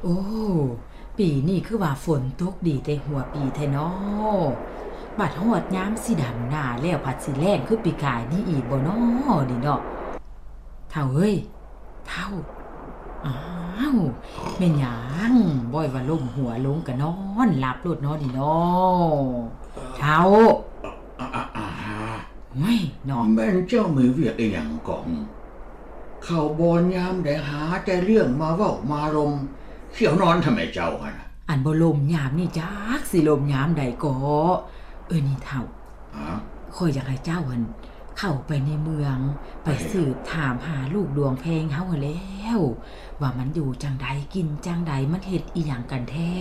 ໂອ້ ປີນີ້ຄືວ່າຝົນຕົກດີແຕ່ຫົວປີແທ້ນໍ. ບັດຮອດຍາມຊິດຳນາແລ້ວ ພັດຊິແລ້ງຄືປີກາຍນີ້ອີກບໍ່ນໍນີ້ເນາະ. ເຖົ້າເອີຍ ເຖົ້າ. ອ້າວ ແມ່ນຫຍັງ? ບອຍວ່າລົ້ມຫົວລົງກະນອນຫຼັບໂລດນໍນີ້ນໍ. ເຖົ້າ ອາ ອາ ອາ ໂອ້ຍເນາະ ແມ່ນເຈົ້າມີວຽກອີ່ຫຍັງກອງ? ເຂົ້າບ່ອນຍາມໃດຫາແຕ່ເລື່ອງມາເວົ້າມາລົມ ສ່ຽວນອນທຳໄມເຈົ້າຫັ້ນນະ? ອັນບໍ່ລົມຍາມນີ້ຈັກຊິລົມຍາມໃດເກາະ. ເອີ ນີ້ເຖົ້າ ຮະ? ຂ້ອຍຢາກໃຫ້ເຈົ້າຫັ້ນເຂົ້າໄປໃນເມືອງ ໄປ ໄປສືບຖາມຫາລູກດວງແພງເຮົາຫັ້ນແລ້ວ ວ່າມັນຢູ່ຈັ່ງໃດ ກິນຈັ່ງໃດ ມັນເຮັດອີ່ຫຍັງກັນແທ້.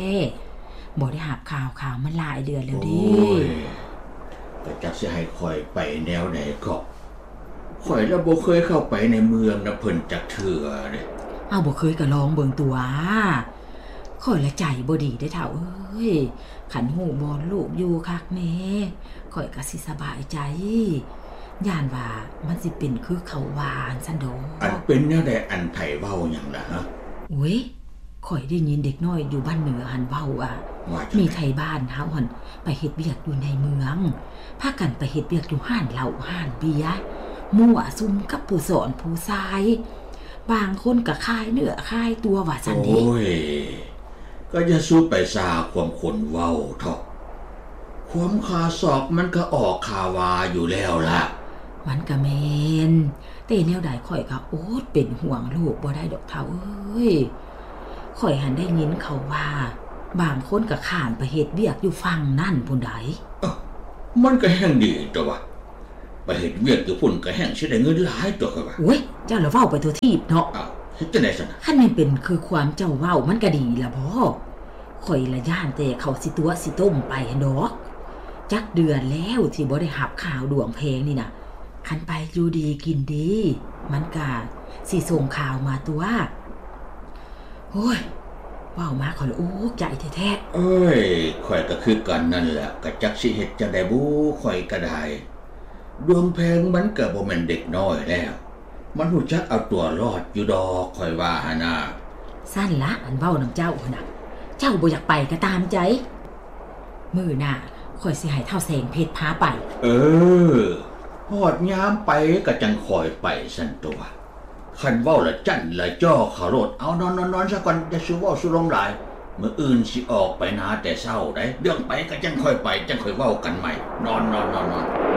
ບໍ່ໄດ້ຮັບຂ່າວຄາວມາຫຼາຍເດືອນແລ້ວເດ້. ໂອ້ຍ ແຕ່ຈັກຊິໃຫ້ຂ້ອຍໄປແນວໃດເກາະ. ຂ້ອຍລະບໍ່ເຄີຍເຂົ້າໄປໃນເມືອງນຳເພິ່ນຈັກເທື່ອເດ້. ເອົາ ບໍ່ເຄີຍກະລອງເບິ່ງຕົວະ. ຂ້ອຍລະໃຈບໍ່ດີເດ້ເຖົ້າເອີຍ. ຄັນຮູ້ບ່ອນລູກຢູ່ຄັກແນ່ ຂ້ອຍກະຊິສະບາຍໃຈ. ຢ້ານວ່າມັນຊິເປັນຄືເຂົາວ່າຫັ້ນຊັ້ນດອກ. ອັນເປັນແນວໃດ? ອັນໃຜເວົ້າຫຍັງລະ? ໂອ້ຍ ຂ້ອຍໄດ້ຍິນເດັກນ້ອຍຢູ່ບ້ານເໜືອຫັ້ນເວົ້າວ່າ ມີໄທບ້ານເຮົາຫັ້ນໄປເຮັດວຽກຢູ່ໃນເມືອງ ພາກັນໄປເຮັດວຽກຢູ່ຮ້ານເຫຼົ້າຮ້ານເບຍ ມົ້ວສຸມກັບຜູ້ສອນຜູ້ຊາຍ ບາງຄົນກະຂາຍເນື້ອຂາຍຕົວວ່າຊັ້ນເດ້. ໂອ້ຍ ກະຢ່າສູ່ໄປຊ່າຄວາມຄົນເວົ້າເຖາະ. ຄວາມຂ້າຊອກມັນກະອອກຂ້າວ່າຢູ່ແລ້ວລະ. ມັນກະແມ່ນ ແຕ່ແນວໃດຂ້ອຍກະອົດເປັນຫ່ວງລູກບໍ່ໄດ້ດອກເຖົ້າເອີຍ. ຂ້ອຍຫັ້ນໄດ້ຍິນເຂົາວ່າ ບາງຄົນກະຂ້າມໄປເຮັດວຽກຢູ່ຝັ່ງນັ້ນພຸ້ນໃດ. ເອີ ມັນກະແຮ່ງດີຕົວະ. ໄປເຮັດວຽກຢູ່ພຸ້ນກະແຮ່ງຊິໄດ້ເງິນຫຼາຍຕົວະຂ້ອຍວ່າ. ໂອ້ຍ ເຈົ້າລະເວົ້າໄປທົ່ວທີບເນາະ. ເຮັດຈັ່ງໃດຊັ້ນນະ? ຄັນແມ່ນເປັນຄືຄວາມເຈົ້າເວົ້າ ມັນກະດີລະບໍ? ຂ້ອຍລະຢ້ານແຕ່ເຂົາຊິຕົວະຊິຕົ້ມໄປຫັ້ນດອກ. ຈັກເດືອນແລ້ວທີ່ບໍ່ໄດ້ຮັບຂ່າວດວງແພງນີ້ນະ. ຄັນໄປຢູ່ດີກິນດີ ມັນກະຊິສົ່ງຂ່າວມາຕົວະ. ໂອ້ຍ ເວົ້າມາຂ້ອຍລະອຸກໃຈແທ້ໆ. ເອີຍ ຂ້ອຍກະຄືກັນນັ້ນແຫຼະ ກະຈັກຊິເຮັດຈັ່ງໃດບຸ ຂ້ອຍກະໄດ້. ດວງແພງມັນກະບໍ່ແມ່ນເດັກນ້ອຍແລ້ວ ມັນຮູ້ຈັກເອົາຕົວລອດຢູ່ດອກ ຂ້ອຍວ່າຫັ້ນນະ. ຊັ້ນລະ ອັນເວົ້ານຳເຈົ້າຫັ້ນນະ ເຈົ້າບໍ່ຢາກໄປກະຕາມໃຈ. ມື້ໜ້າຂ້ອຍຊິໃຫ້ທ້າວແສງເພັດພາໄປ. ເອີ ຮອດຍາມໄປກະຈັ່ງຄ່ອຍໄປຊັ້ນຕົວະ. ຄັນເວົ້າລະຈັ້ນລະຈໍ່ເຂົາໂລດ. ເອົາ ນອນໆໆຊະກ່ອນ ຢ່າສູ່ເວົ້າສູ່ລົມຫຼາຍ. ມື້ອື່ນຊິອອກໄປນາແຕ່ເຊົ້າໃດ໋. ເລື່ອງໄປກະຈັ່ງຄ່ອຍໄປ ຈັ່ງຄ່ອຍເວົ້າກັນໃໝ່. ນອນໆໆໆ.